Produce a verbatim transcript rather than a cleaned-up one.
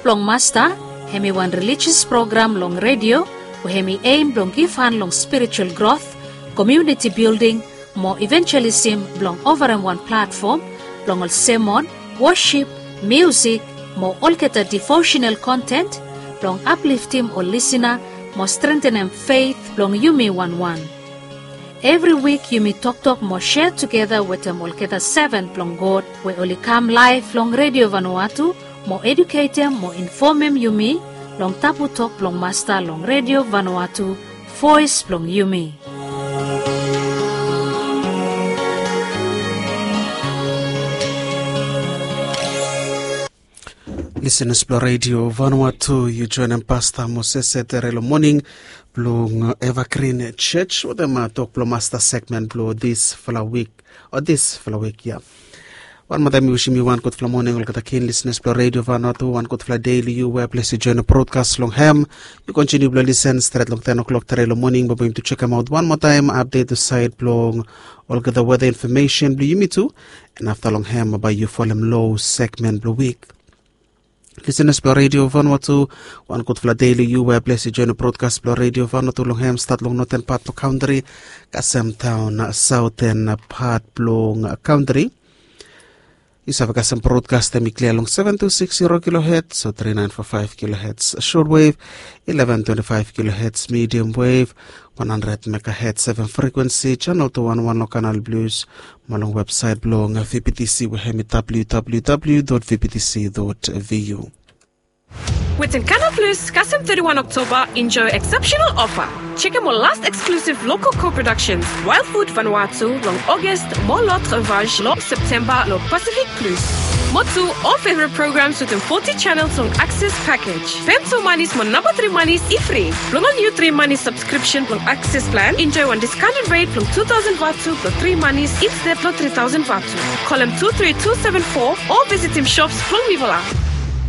blong Masta, hemi wan rilijis program long redio we hemi eim blong givhan long spiritual grot, komuniti bilding, mo ivenjelism blong ovarem wan platfom blong ol semon, wosip, miusik, mo olgeta devosenal konten blong apliftim ol lisena mo strentenem feit blong yumi wanwan. Evri wik yumi toktok mo sea tugeta wetem olgeta seven blong God we oli kam laef long Redio Vanuatu mo eduketem mo infomem yumi long tabu tok blong Masta long Redio Vanuatu, voes blong yumi. Lisenas blong Redio Vanuatu, yu joenem Pasta Moses Etere long moning blong Evergreen Church wetem tok blong Masta segmen blong disfala wik, o disfala wik ya. Wan moa taem mi wisim yu wan gudfala moning olgeta kin lisenas blong Redio Vanuatu, wan gudfala dei long yu we ples yu joenem brodkas long hem. Yu kontiniu blong lisen stret long ten o'clock tare long moning, bae bae yumi tu jekemaot wan moa taem apdet tu saed blong olgeta weta infomesen blong yumi tu. An afta long hem bae yu folem long segmen blong wik. Lisenas blong Redio Vanuatu, wan gudfala dei long yu we ples yu joenem brodkas blong Redio Vanuatu long hem stat long noten pat blong kantri kasem taon saoten pat blong kantri. Yu save kasem brodkas hem i klia long seven two six zero kilohertz o three nine four five kilohertz shortwave, eleven twenty-five kilohertz medium wave, one hundred megahertz seven frequency, channel two one one long Canal Plus, mo long websaet blong V B T C we hem i W W W dot V B T C dot V U. Wetem Canal Plus, kasem thirty-one Oktoba, enjoe exceptional offer. Jekem ol last exclusive local co-productions, Wild Food Vanuatu long August, mo L'Autre Vache long September long Pacific Plus. Mo tu ol favorite programs wetem forty channels long Access package. Pem tu manis mo namba three manis i fri. Blong ol niu three manis subscription blong Access plan, enjoy wan discounted rate blong two thousand vatu blong three manis instead blong three thousand vatu. Kolem two three two seven four o visitim shops blong Mivola.